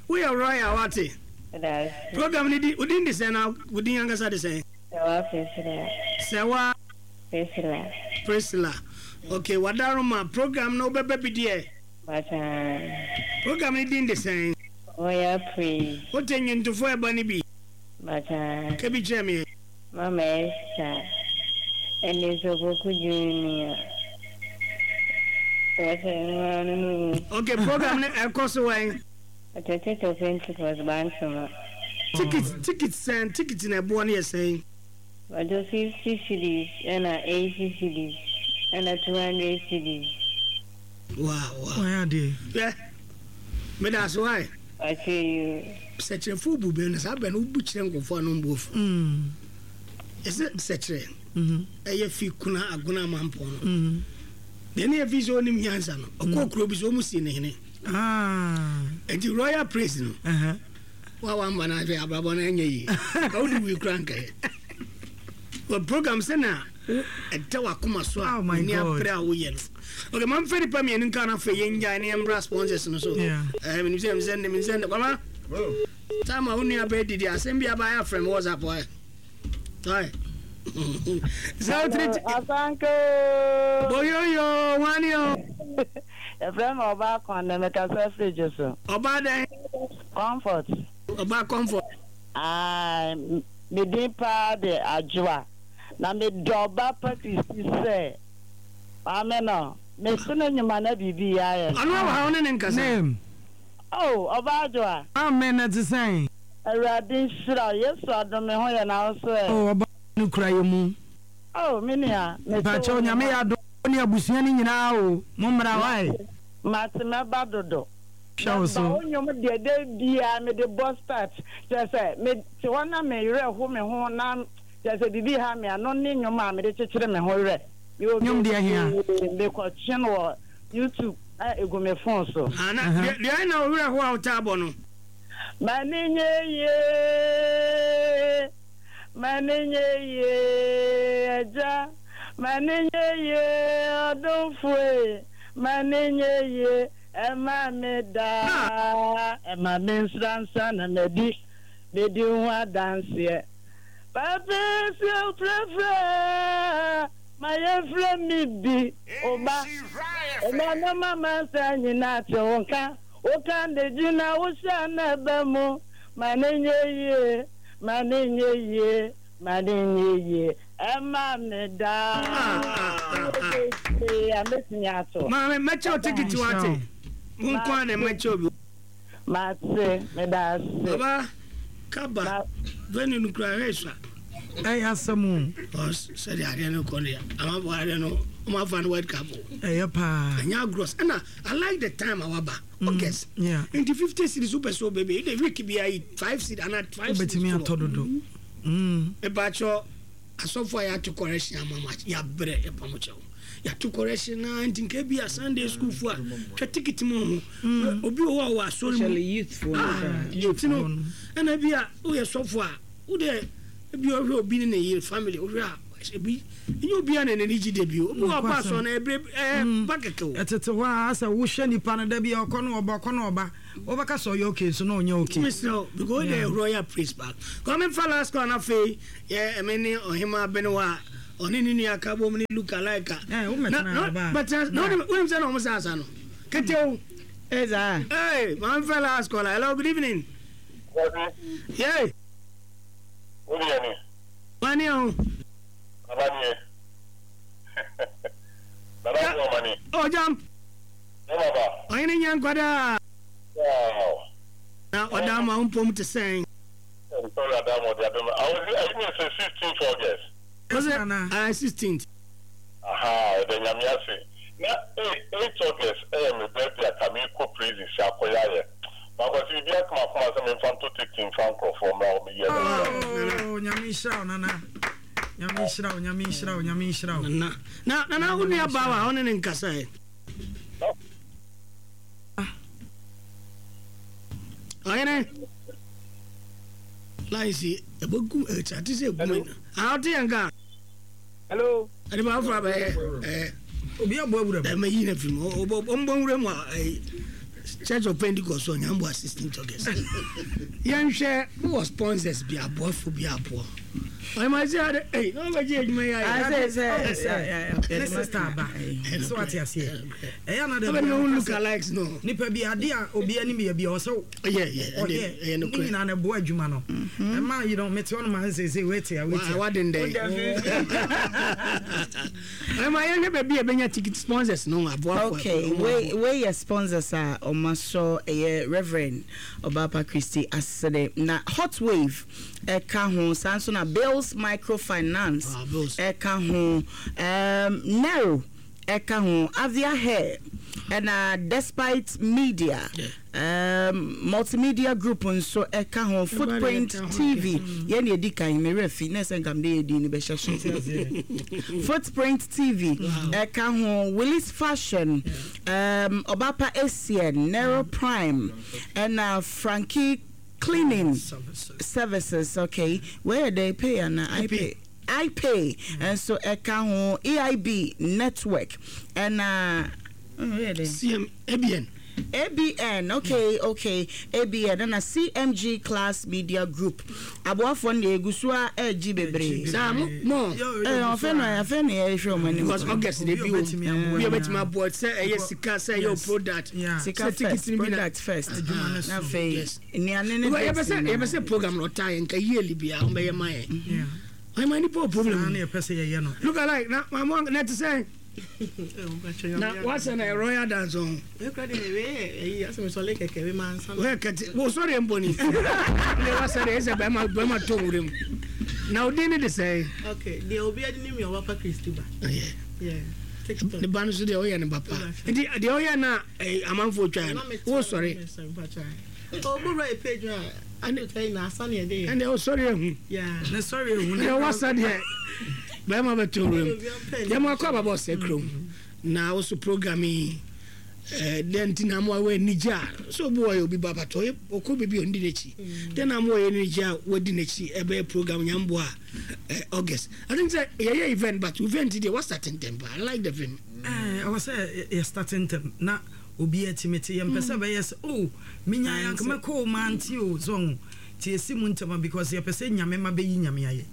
woyɛ royal wate.
Meda ase.
Program no di, wo din de sɛn na wo din ankasa de sɛn?
Sɛwa Priscilla.
Sɛwa.
Priscilla.
Priscilla. Okay, Wadaroma, program no wobɛba bi deɛ?
Mpakyɛ.
Program no din de sɛn?
Royal Praise.
Wote nnwontofoɔ a ɛba no bi?
Mpakyɛ.
Ka bi kyerɛ me.
Mama Esther ɛne Sopoku Junior wɔsɛ mmaa no no mu.
Ok program no ɛkɔ so wɛn?
Ɔtɔ Church of Pentecost Bantama.
Ticket ticket sɛn ticket na ɛboɔ no yɛ sɛn?
Ɔtɔ 50 cedis ɛna 80 cedis ɛna 200 cedis.
Wow wow.
Wayɛ adeɛ.
Hwɛ meda ase why.
Wakyɛ yi o.
Sɛkyerɛfoɔ bu bɛ na saa bɛ no wobu kyerɛ nkurɔfoɔ a na ɔmbu afu. Ɛsɛ sɛkyerɛ ɛyɛ fi kuna agona amampɔn no. Deɛ ne yɛ fi sɛ ɔnim nyansa no ɔkɔɔ kuro bi so ɔmu sii ne hene. Ah. Enti Royal Praise no. Uh -huh. Wa wamba na ahwɛ abrabɔ no ɛnyɛ yie. Ka wode wui kura nkɛyɛ. Wɔ program sɛ na ɛda wakoma so a oh w'ani abere a woyɛ no. Okay, ma mfɛ nipa mmienu nka na afei yɛngyae ne yɛmmra sponsors no so. Eh, menim sɛ mesɛ ne mesɛ ne kwama. Time a wo nua bɛɛ didi asɛm bi aba ayɛ afrɛ me WhatsApp ɛ. Hi. 03
Asanka
Boyoyo, wani o.
Yɛfrɛ me Ɔbaa Kwan na mekasa firi Dwoso.
Ɔbaa dɛn?
Comfort.
Ɔbaa Comfort.
Ae, me din paa de Adwoa. Na medɔ Ɔbaa pa Christy sɛ maame no. Meto ne nnwom a na biribi reyɛ ayɛ no.
Ɔno wɔ ha, wo ne no nkasa.
Name.
Oh, Ɔbaa Adwoa.
Maame, na ɛte sɛn?
Awurade nhyira wo. Yesu adom me ho yɛ na wo nso ɛ?
Oh, Ɔbaa no kura yɛ mu.
Oh, me nua, meto wo
Mpakyɛw, Nyame
nnwom
yɛ
a.
adom wo ne abusua no nyinaa o, mo mmra wai.
Mate, mɛba dodo.
Hwɛ wo
Mɛba,
so.
wo nnwom deɛ da biara mede bɔ start, kyerɛ sɛ mete hɔ na me werɛ ho me ho na kyerɛ sɛ biribi ha me a, no ne nnwom a mede kyekyere me ho werɛ. Mewɔ
Nnwom deɛ hea?
bebree, mekɔtwe no wɔ YouTube na egu me phone so.
Ah, na deɛ deɛ na wo werɛ ho a wotaa bɔ no?
M'ani nye yie, m'ani nye yie, Agya, m'ani nye yie, ɔdomfo e, m'ani nye yie, ɛma me daa, ɛma me nsra nsa na madi, medi ho adanseɛ. Papa si ofrɛfrɛ, ma yɛmfrɛ me bi, wo ba, ɛma no ma mansa nyinaa te wo nka. Woka de gyina wo hyɛ na ɛba mu, ma no nyɛ yie, ma no nyɛ yie, ma no nyɛ yie, ɛma me daa. Bebree a mɛtumi ato.
Maame, mɛkyɛ wo tikiti wate. Wo nko ara na mɛkyɛ obi.
Mate, meda ase.
Baba, kaba, venue no kura hwɛ sua.
Ɛyɛ asɛm o.
Because sɛdeɛ adeɛ no kɔ deɛ, amanfoɔ adeɛ no, wɔn afa no World Cup o.
Ɛyɛ paa.
Ɛnyɛ agorɔ, ɛna I like the time a waba August.
Yeah.
Nti 50 cedis wopɛ sɛ wobɛbi the week bi ayi 5 cedis ana 5 cedis.
Wobɛtumi atɔ dodo.
Mepakyɛ asɔfo a yɛato correction ama mo yɛabrɛ yɛpa mo kyɛw. Yɛato correction na nti nka bi a Sunday school fo a twa ticket mu ho. Obi wɔ hɔ a wɔ asɔre mu.
Youth fo.
Ah, youth no. Ɛna bi a woyɛ sɔfo a wo deɛ ebi ɔhwɛ obi ne ne yere family wohwɛ a ebi ɛnyɛ obiara na n'ani gye da bi obi wɔ ɔkɔ asɔre na ɛbrɛ ɛɛ ba kɛkɛ o.
Ɛtete hɔ a sɛ wohwɛ nipa no da bi a ɔkɔ no ɔba ɔkɔ no ɔba wobɛka sɛ ɔyɛ okay nso na ɔnyɛ okay.
Mesrɛ wo because wode mm. royal praise back kɔ memfa last call na afei yɛ ɛme ne ɔhema abenewa a ɔne ne nua ka bom ne look alike a
eh,
na wonim sɛ na ɔmo sɛ asa no kete o.
Ɛza.
Hey, mamfa last call. Hello, good evening. Yay.
Wo deɛ ni.
Wani o.
Nana nie. Nana bu amani.
O jam.
Ne baba.
Ɔhene nyɛ nkwadaa.
Wow.
Na ɔda ama wo mpom te sɛn.
Sorry Adam ɔde adom. Awo ayi ne sɛ 16th August.
Ɔsɛ ah 16th.
Ahaa yɛda Nyame ase. Na eight August ɛyɛ me birthday a ka meekɔ prison sɛ akɔyɛ ayɛ. Makwasi biribi aka m'akoma sɛ memfa nto ticket mfa nkorɔfoɔ mmra hɔ meyɛ no nsa.
Oh Nyame nhyira wo Nana. Nyame nhyira wo Nyame nhyira wo Nyame nhyira wo.
Nana na Nana wo nua baa wɔ ha wo ne ne nkasa ɛ. Ɔhene lines yi ɛbɛgu ɛkyate sɛ ɛgu mu. Ah ɔte yɛn ka.
Hello.
Ɛde ba afra bɛyɛ ɛɛ.
Obi abɔ awura mu.
Ɛmɛ yi na fi mu ɔbɔ ɔmbɔ nwura mu a ɛyi Church of Pentecost ɔnyambo 16th August. Yɛnhwɛ wɔ sponsors bi aboafo bi aboɔ. Ɔyɛ sɛ ade ɛyi na ɔbɛgye adwuma yi ayɛ.
Sɛ sɛ
ne sister aba so ate aseɛ ɛyɛ ana dɛ
Ɔbɛn no look alike no.
Nipa bi ade a obi anim yɛ bi a ɔsɛ
ɔyɛ
ɔyɛ ne nyinaa na ɛboa adwuma no ɛma yi no mete hɔ no ma nsɛ sɛ wait a wait a
waden dɛ ɛma yɛhwɛ baabi a ɛbɛnya ticket sponsors no aboafo
okay wei wei yɛ sponsors a ɔma sɔ ɛyɛ Reverend Ɔbaapa Christy Asede na Hot Wave ɛka ho saa nso na Bills Microfinance ɛka ho um, Nero ɛka ho, Avia Hair Ɛna Despite Media, um, Multimedia Group nso ɛka ho, Footprint TV, yɛn na ɛdi kan, me werɛ fi, na ɛsɛ nka mede yɛ din no bɛhyɛ so. Footprint TV ɛka ho, Willis Fashion, um, Ɔbapa Essien, Nero Prime, ɛna Frankie Cleaning Services, okay, wei yɛ dɛn, pay anaa I pay? Ipay nso ɛka ho, EIB network ɛna mm, wei yɛ dɛn?
CM, ABN.
ABN, okay, okay, ABN ɛna CMG Class Media Group. Aboafoɔ no deɛ egu so a ɛregye bebree.
Saa mo mo.
Ɛɛ afei na afei na yɛrehwɛ wɔn anim.
Because August de bi wɔ mu. Bi a obetumi aboa sɛ ɛyɛ sika sɛ ɛyɛ o product.
Sika first, product first. Na afei nnuane ne
drinks nyinaa. Yɛpɛ sɛ program no ɔtaa yɛn nka yearly biara wɔn bɛyɛ ma yɛn. Ɔyɛ nipa o problem.
Saa na yɛpɛ sɛ yɛyɛ no.
Look alike na mamu na ɛte sɛ. Na wasɛ na royal dance ɔn. Wɛ kɛte wo sɔre mpo ni. Ne wasɛ de ɛsɛ bɛrima bɛrima to nwura mu. Na odin ne de sɛ.
Okay, deɛ obi adi ne mi ɔba pa Kristi ba.
Yeah. Ne ba no so deɛ ɔyɛ ne ba pa. Nti deɛ ɔyɛ na amanfoɔ twa no wo sɔre.
Ɔbɔ wura page a.
Ɛnde ɔsɔre ahu.
Ne sɔre ahu.
Ɛnde wasa deɛ bɛrima bɛtɔ wuram. Yɛn akɔ ababɔ ɔsɛ kurom na woso program yi dɛn nti na amoa wɔ anigye a sɛ obi wɔ yɛ obi ba batɔ ɔyɛ ɔkɔ baabi a ɔndi n'akyi dɛn na amoa yɛ anigye a wadi n'akyi ɛbɛyɛ program nyamboa a August I think sɛ yɛyɛ event but event deɛ wa start ntɛm pa I like the film.
Ɛwɔ sɛ yɛ start ntɛm na Obiara tumi te. Yɛmpɛ sɛ ɛbɛyɛ sɛ oh menyae anka mɛkɔ o mante o so ho nti yɛsi mu ntɛm a because yɛpɛ sɛ Nyame mma bɛyi Nyame ayɛ.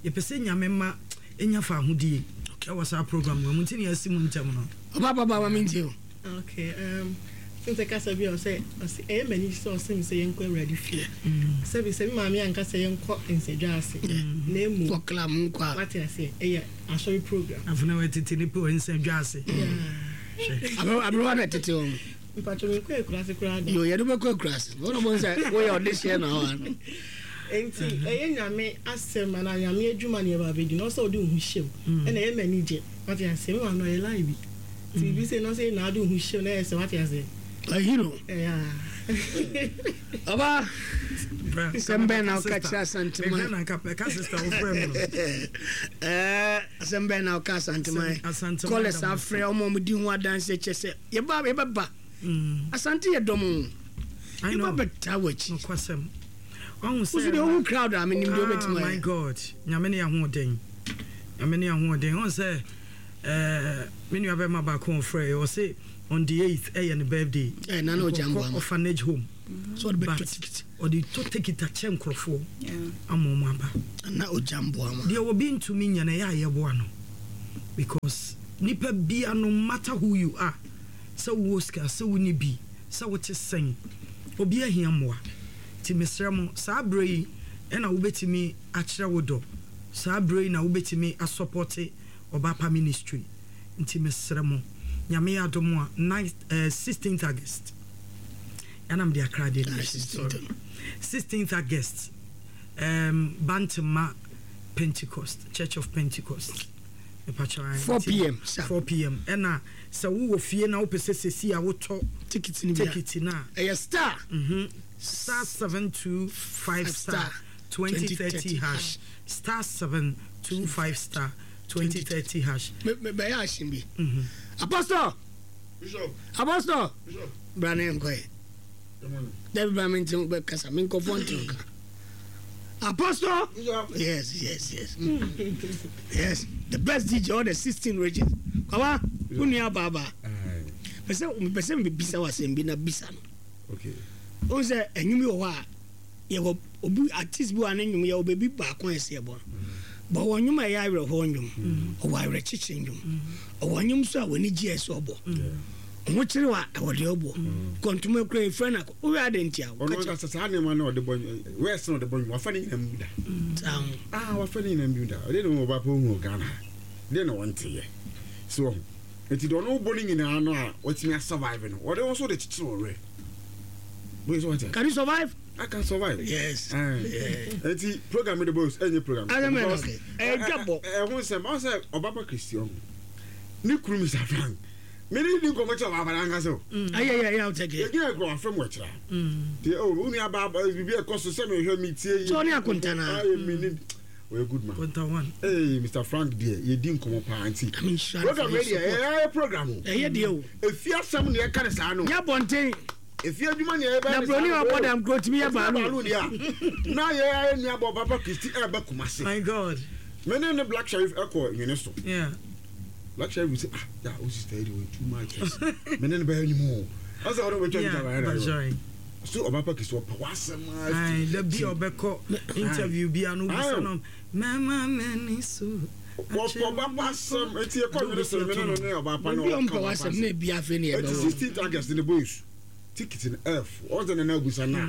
Yɛpɛ sɛ Nyame mma nya fahodie ɛwɔ saa program wei mu nti na yɛasi mu ntɛm no.
Ɔba ba ba ma mentie o.
Okay um since kasa bi a ɔsɛ ɔsɛ ɛyɛ m'ani sɛ ɔsɛ mi sɛ yɛnkɔ awurade fie sɛbi sɛ mi maame anka sɛ yɛnkɔ nsɛdwa ase na emu
kɔ club nkɔ a
wate aseɛ ɛyɛ asɔre program.
Afei na wɔatete ne pɛ nsɛdwa ase.
Hwɛ. Aberewa na ɛtete wɔn.
Mpatwa mi nkɔ akuraase koraa da.
Yo, yɛde bɛkɔ akuraase. Wɔn na wɔn sɛ woyɛ ɔdehyeɛ na wɔn ano.
Nti ɛyɛ nyame asɛm anaa nyame adwuma na yɛba abɛdi na ɔsɛ ɔde wo ho hyɛ mu ɛna ɛyɛ m'ani gye wate aseɛ me maame ɔyɛ lie bi nti biribi sei na ɔsɛ na ade wo ho hyɛ mu na ɛyɛ sɛ wate aseɛ.
Ayi no.
Yeah.
Ɔba. Asɛm bɛn na woka kyerɛ Asanteman?
Mehwɛ na nka pɛka sister wo frɛ me no.
Ɛɛ asɛm bɛn na woka Asanteman?
Asanteman.
Kɔlɛs afrɛ ɔmo ɔmo di ho adanse kyɛ sɛ yɛba yɛbɛba. Mm. Asante yɛ dɔm o. Yɛba bɛtaa w'akyi.
Nokwasɛm. Ɔhu sɛ.
Wosu deɛ wohu crowd a menim deɛ wobɛtumi ayɛ.
Ah my God. Nyame ne ahoɔden. Nyame ne ahoɔden. Ɔhu sɛ ɛɛ me nua bɛma baako ɔfrɛ ɔse on the 8th ɛyɛ ne birthday.
Ɛɛ nana ɔgya mboa ma.
Orphanage home.
So ɔde bɛtɔ tikiti.
Ɔde tɔ tikiti akyɛ nkorɔfoɔ ama wɔn aba.
Na ogya mboa ma.
Deɛ obi ntumi nyɛ no ɛyɛ a yɛboa no because nipa bia no matter who you are sɛ wowɔ sika sɛ wonni bi sɛ wote sɛn obi ahia mmoa nti mesrɛ mo saa berɛ yi ɛna wobɛtumi akyerɛ wo dɔ saa berɛ yi na wobɛtumi asɔpɔte Ɔbaapa ministry nti mesrɛ mo Nyame yɛ adom a 9 eh, 16th August Ɛna mede akra deɛ no asi sorry. 16th August um, Bantama Pentecost Church of Pentecost.
4 pm
4 pm ɛna sɛ wowɔ fie na wopɛ sɛ sɛsi a wotɔ
ticket no
ticket no a
ɛyɛ star
mm -hmm. star 725 star 2030 hash star 725 star 2030 hash.
Bɛyɛ ahyɛn bi. Apostle. Apostle, bra na yɛnkɔ ɛ. Dabi bra me nti bɛ kasa me nkɔfoɔ nti nka. Apostle, yes, yes, yes. Yes, the best DJ all the 16 regions. Kwaba, wo nua baaba. Pɛsɛ mepɛ sɛ mebisa wo asɛm bi na bisa no.
Okay.
Wohu sɛ ɛnwom bi wɔ hɔ a yɛwɔ obi artist bi wɔ a ne nnwom yɛwɔ baabi baako a ɛsɛ yɛbɔ no but ɔwɔ nnwom a ɛyɛ awerɛhoɔ nnwom ɔwɔ awerɛkyekye nnwom ɔwɔ nnwom nso a w'ani gye ɛsɛ ɔbɔ ho kyerɛ wa ɛwɔ deɛ ɔbɔ kɔntoma kura efura na woyɛ adɛ nti a
ɔno ankasa saa nneɛma na ɔde bɔ wɛs na ɔde bɔ nnwom wafa ne nyinaa mu da ah wafa ne nyinaa mu da ɔde ne ho ɔba pɛ ohun Ghana ha deɛ na wɔnte yɛ so ɔho nti deɛ ɔno bɔ ne nyinaa no a watumi asurvive no ɔde wɔn so de kyekyere ɔwerɛ.
Can you survive?
I can survive.
Yes.
Eti program de boys enye program.
Because eh dwabɔ.
Eh ho nsɛm ɔn sɛ ɔbaba Christian. Ne kunu Mr. Frank. Me ne di nkɔmɔ kyɛ ɔbaa ankasa o.
Ayɛ yɛ yɛ awotɛ kɛ.
Yɛgyina ekura wafrɛ mu ɛkyerɛ. Ti o wo nua baa biribi ɛkɔ so sɛ mehwɛ me tie yi.
Sɛ ɔne akonta na.
Ayɛ mi ne ɔyɛ good man.
Konta one.
Ee Mr Frank deɛ yɛdi nkɔmɔ paa nti. Program yɛ deɛ ɛyɛ program o.
Ɛyɛ deɛ o.
Efi asɛm na yɛka ne saa no.
Nyɛ abɔnten.
Efi adwuma na yɛbɛyɛ
ne saa no. Na broni a ɔbɔ dam kuro tumi yɛ baalu.
Baalu deɛ a na yɛ ayɛ nua bɔ Papa Christy ɛɛba Kumasi.
My God.
Me ne ne Black Sherif ɛkɔ nwene so.
Yeah.
Black Sherif sɛ ah ya o sister yi de wɔyɛ too much. Me ne ne bɛyɛ nwom o. Ɔsɛ ɔno bɛtwa ne taba yɛrɛ. So ɔba pa kisi ɔpɛ w'asɛm a.
Ayi da bi a ɔbɛkɔ interview bi a no bisa no mɛma m'ani so.
Wɔpɛ ɔba pa asɛm eti ekɔ nwene so me ne no ne ɔba pa no
ɔka ɔba pa asɛm na ebi afei ne
ɛbɛwɔ. Eti 16th August ne boys ticket no ɛɛfo ɔsɛ nana abusa na.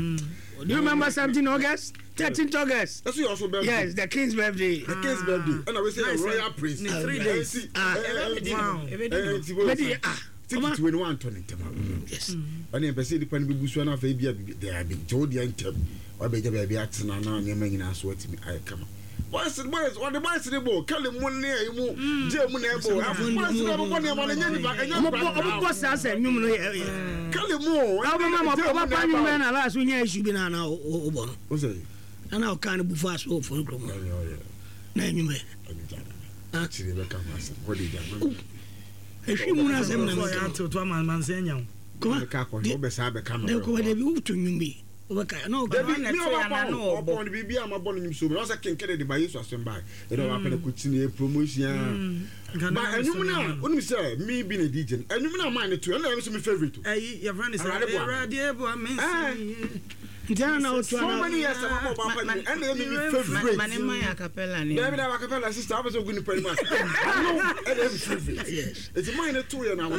Do you remember something August? 13th August.
Ɛso yɛ ɔso birthday.
Yes, the king's birthday.
The king's birthday. Ɛna wei sɛ yɛ royal prince.
Ne 3 days.
Ah,
ɛbɛdi ah. Ticket wei no wantɔ ne ntɛm a.
Yes.
Ɛna ɛpɛ sɛ nipa no bɛbu so na afei bi a bibi daabi nti wo deɛ ntɛm wabɛgya baabi atena na nneɛma nyinaa so atumi ayɛ kama. Boys boys wɔde boys ne bɔ kɛlɛ mu ne ɛyi mu gye mu na ɛbɔ boys ne ɛbɔ nneɛma no ɛnyɛ nipa ɛnyɛ
nipa. Ɔmo bɔ saa sɛ nnwom no yɛ.
Kɛlɛ mu o.
Ɔmo ma ɔba pa nnwom bɛn na last wonya issue bi na na ɔbɔ no.
O sɛ.
Na na ɔka no bufa so wɔ fon kurom. Na nnwom bɛ.
Akyire bɛka ho asɛm hɔ de gya.
Ehwi mu na asɛm na meka.
Kɔma.
Kɔma de bi woto nnwom bi. Wobɛka na ɔka.
Dabi mi ɔba pa o ɔpɔn no biribi a ma bɔ no nnwom so mi ɔsɛ kenkɛdɛ de ba Yesu asɛm ba ɛdɛ ɔba pɛ no kɔ kyini yɛ promotion ba ɛnwom no a wonim sɛ me bi na DJ no ɛnwom no a maa ne to ɛno na ɛyɛ so me favorite o.
Ɛyi yɛfrɛ no sɛ Awurade boa me nsi yie.
Nti ɛna na woto
ana. So many years a mabɔ ɔba pa nnwom ɛna ɛyɛ me me favorite.
Ma ne mma yɛ acapella ne.
Dabi dabi acapella sister wopɛ sɛ ogu nipa anim ase ɛno ɛna ɛyɛ me favorite.
Yes.
Eti maa ne to yɛ na awɔ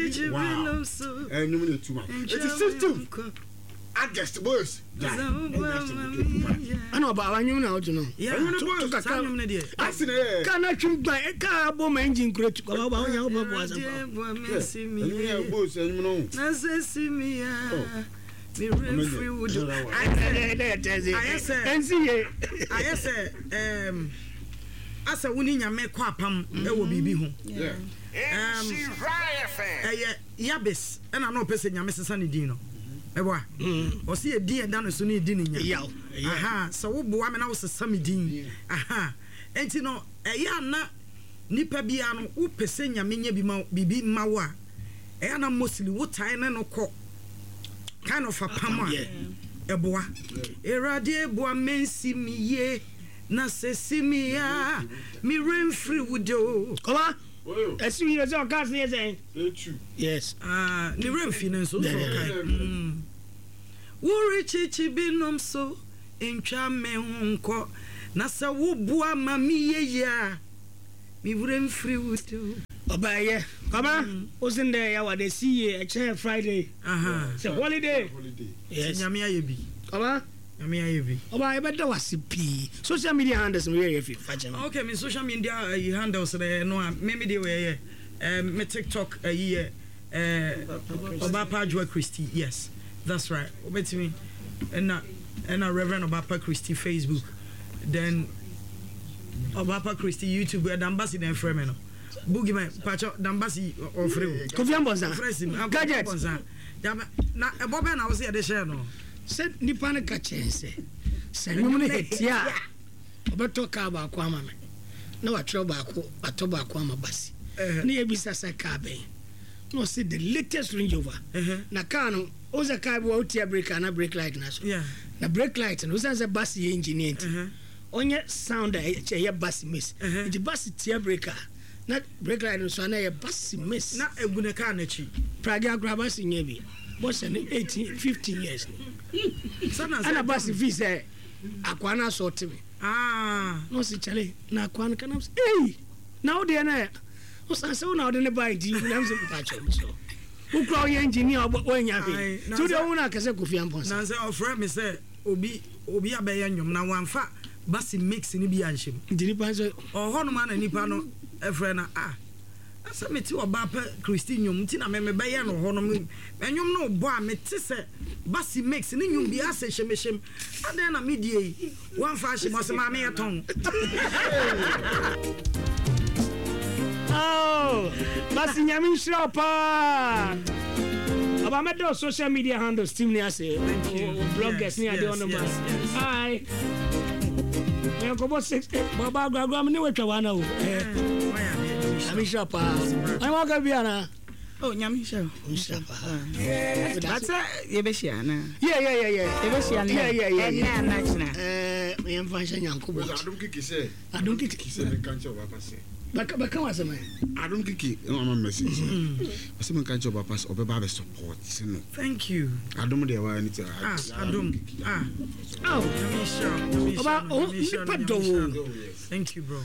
so wow ɛnwom no etu ma eti 16 August boys gyae ɛnyɛ asɛm ketewa kuma.
Ɛna ɔba awa nwom na ɔto no.
Ɛnwom no boys
kakra
nwom no deɛ.
Asi na yɛ.
Kaa na twim gban kaa abɔ ma engine kura tu kɔba ɔba ɔnya ɔba bɔ asɛm pa.
Ɛnwom yɛ boys ɛnwom no.
Na sɛ si mi ya. Mi werɛ firi wo do. Ayɛ sɛ
ɛnsi ye.
Ayɛ sɛ ɛɛm asɛ wo ne Nyame kɔ apam ɛwɔ biribi ho. Ɛɛm ɛyɛ. Yabes ɛna na ɔpɛ sɛ Nyame sesa ne din no. Meboa? Ɔse edin a ɛda ne so no edi ne nya. Aha, sɛ wo boa me na wo sesa me din. Aha. Enti no, ɛyɛ a na nipa biara no, wo pɛ sɛ Nyame nya bi ma, biribi ma wo a, ɛyɛ a na mostly wo tae ne no kɔ kind of apam a, ɛboa. Awurade boa me nsi me yie, na sɛ si me a, me werɛ mfiri wo da o.
Kɔma, ɛsi wo yie sɛ ɔka ase yɛ sɛn? Yes.
Ah, ne werɛ mfi no nso nso ɔkae. Mm. Worekyekye binom so ntwa me ho nkɔ, na sɛ woboa ma meyɛ yie a, me werɛ mfiri wo da o.
Ɔbaa yɛ. Kwaba, wo se ndɛ yɛ awade si yie, ɛkyɛ Friday.
Aha.
Sɛ holiday. Yes.
Nyame ayɛ bi.
Kwaba.
Nyame ayɛ bi.
Ɔbaa yɛbɛda wo ase pii. Social media handles no werɛ afi, fa kyɛ me.
Okay, me social media ayi handles no ɛno a me me deɛ wei ɛyɛ eh, me TikTok ayi yɛ eh, Ɔbaapa Adwoa Christy, yes, that's right. Wobɛtumi ɛna ɛna Reverend Ɔbaapa Christy Facebook, then Ɔbaapa Christy YouTube, eh, Dambasi na ɛfrɛ me no. Boogeyman, pakyɛ Dambasi ɔfrɛ o.
Kofi Ambɔnsa.
Ɔfrɛ sim, ah, Kofi
Gadget.
Ambɔnsa. Na ɛbɔ bɛn na wo sɛ yɛde hyɛɛ no?
Sɛ nipa no ka kyerɛ sɛ, sɛ nnwom no hit a, ɔbɛtɔ kaa baako ama me, na watwerɛ baako, watɔ baako ama Basi. Na yɛbisa sɛ kaa bɛn? Na ɔse the latest Range Rover. Na kaa no, wohu sɛ kaa bi wɔ wotia brake a na brake light no asɔ. Na brake light no, wosiane sɛ Basi yɛ engineer nti, ɔnyɛ sound a ɛyɛ Basi miss. Nti Basi tia brake a, Na brake light no so a na ɛyɛ basi miss.
Na egu ne car n'akyi.
Pragya koraa basi nyɛ bi. Bɔhyɛ no 18, 15 years ni. Ɛna basi fi sɛ akwaa no asɔ te me.
Ah.
Na ɔsi kyale na akwaa no kanam sɛ ei na wo deɛ na ɔsan sɛ wo na ɔde ne baa nti nam sɛ mpa kyɛw me so. Wo kura ɔyɛ engineer ɔbɔ wɔanya hwee. Nti wo deɛ wo na akɛsɛ Kofi Amponsah.
Na sɛ ɔfrɛ me sɛ obi obi abɛyɛ nnwom na wamfa Basi mix no bi anhyɛ mu.
Nti nipa nso.
Ɔwɔ hɔ nom a na nipa no frɛ no ah sɛ mete ɔbaa pɛ Christy nnwom nti na me mebɛyɛ no hɔ nom nnwom no bɔ a mete sɛ Basi mix ne nnwom bi asɛ hyɛmhyɛm adɛn na me die yi wamfa ahyɛ mu ɔsɛ maame yɛ tɔn.
Oh. Basi Nyame nhyira wo paa. Ɔba mɛda wo social media handles team ni ase.
Thank you.
O bloggers ni ade ɔno ma. Hi. Yɛnkɔbɔ 6 baba agoragora me ne watwa wana o. Nyame nhyira paa. Ɔne waka bi anaa?
Oh, Nyame nhyira wo.
Nhyira paa.
But sɛ yɛbɛhyia anaa?
Yeah, yeah, yeah, yeah.
Yɛbɛhyia nnɛ.
Yeah, yeah, yeah.
Ɛnnɛ anaa kyena?
Eh, yɛmfa nhyɛ Nyankopɔn.
Adom kiki sɛ.
Adom kiki.
Sɛ menka nkyerɛ ɔba pa sɛ.
Bɛka bɛka w'asɛm ɛ.
Adom kiki na wama me message sɛ. Ɔsɛ menka nkyerɛ ɔba pa sɛ ɔbɛba abɛ support no.
Thank you.
Adom deɛ waa ne ti.
Ah, Adom. Ah.
Oh.
Nyame nhyira wo. Nyame nhyira
Ɔba,
no.
oh,
Nyame nhyira no.
nipa
Nyame
dɔ
nhyira
wo.
no. Thank you, bro.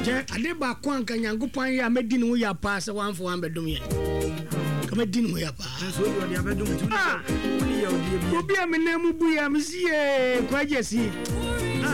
Kyɛ ade baako a nka Nyankopɔn ayɛ a mɛdi ne ho ya paa sɛ wamfa wambɛdom yɛn. Nka mɛdi ne ho ya paa.
Nanso wode ɔde abɛdom nti wone
Ah!
wone yɛ ɔdeɛ bi.
Obi a me nan mu bu yɛ a mesi yee kwagye si.